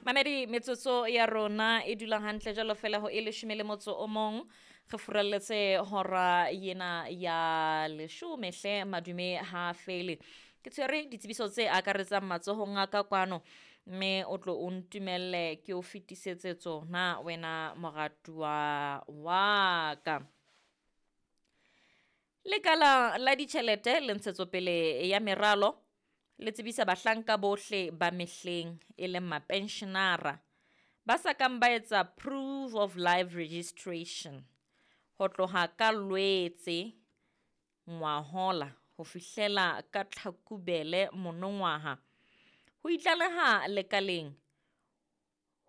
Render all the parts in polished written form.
Mamedi, metsotso ya rona e dula hantle jalo fela ho e leshome le motso o mong, re furalletse hora yena ya leshome hle. Madume ha fele ke tshwere ditsebiso tse akaretsang matsohong a ka kwano, mme o tlo o ntumelle ke o fetisetse tsona wena moratuwa wa ka. Lekala la ditjhelete le ntshetsopele ya meralo le tsebisa bahlanka bohle ba mehleng e leng mapenshenara ba sa kang ba etsa proof of life registration ho tloha ka Lwetse ngwahola ho fihlela ka Tlhakubele monongwaha ho itlaleha lekaleng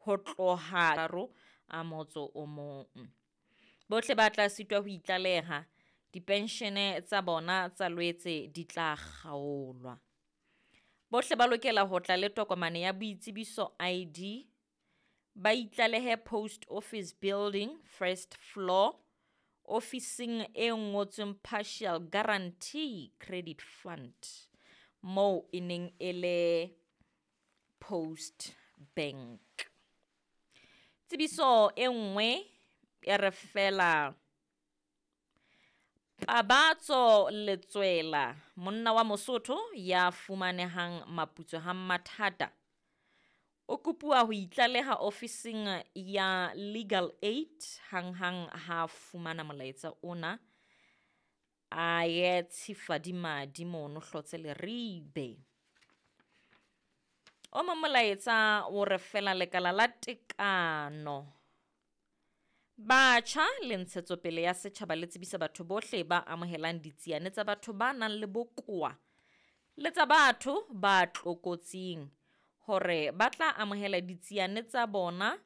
ho tloha 31. Bohle ba tla sitwa ho itlaleha, dipenshene tsa bona tsa Lwetse di tla kgaolwa. Bohle ba lokela ho tla le tokomane ya boitsebiso ID, ba itlalehe Post Office Building first floor, ofising e ngotsweng Partial Guarantee Credit Fund, moo e neng e le Post Bank. Tsebiso e nngwe e re fela Pabatso Letswela, monna wa Mosotho ya fumanehang Maputswe ha Mathata, o kopuwa ho itlaleha ofising ya Legal Aid hanghang ha fumana molaetsa ona, a ye Tshifadimadi mono Hlotse Leribe. O mong molaetsa o re fela lekala la tekano batjha le ntshetsopele ya setjhaba le tsebisa batho bohle ba amohelang ditsiane tsa batho ba nang le bokowa le tsa batho ba tlokotsing hore ba tla amohela ditsiane tsa bona.